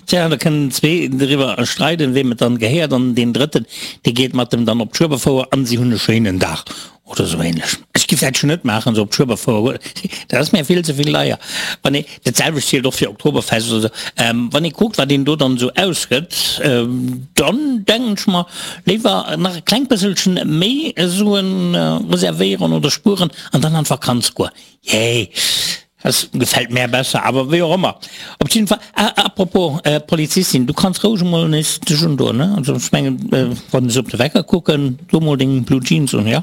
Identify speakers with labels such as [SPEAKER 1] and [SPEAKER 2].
[SPEAKER 1] Tja, da kënnen zwee driwwer streiden, weem et dann gehéiert, an deen drëtten, dee geet mat em dann op d'Schueberfouer an si hunn e schéinen Dag oder sou ähnlech. Ech giff dat schon net maachen, sou op d'Schueberfouer goen, dat ass mär vill ze vill deier. Wann ee, dat selwecht zielt och fir Oktoberfest oder sou, wann ee kuckt, wat een do dann sou ausgëtt, dann denken ech mer, léiwer nach e klengt bësselchen méi Suen reservéieren oder spueren an dann an d'Vakanz goen. Jee, das gefällt mär besser, awer wéi och ëmmer. Op jidden Fall, ah, apropos Polizistin, du kanns roueg emol nees dech undoen, ne? Also ech mengen, wann ech op de Wecker kucken, do mol deng Blue Jeans un, jo?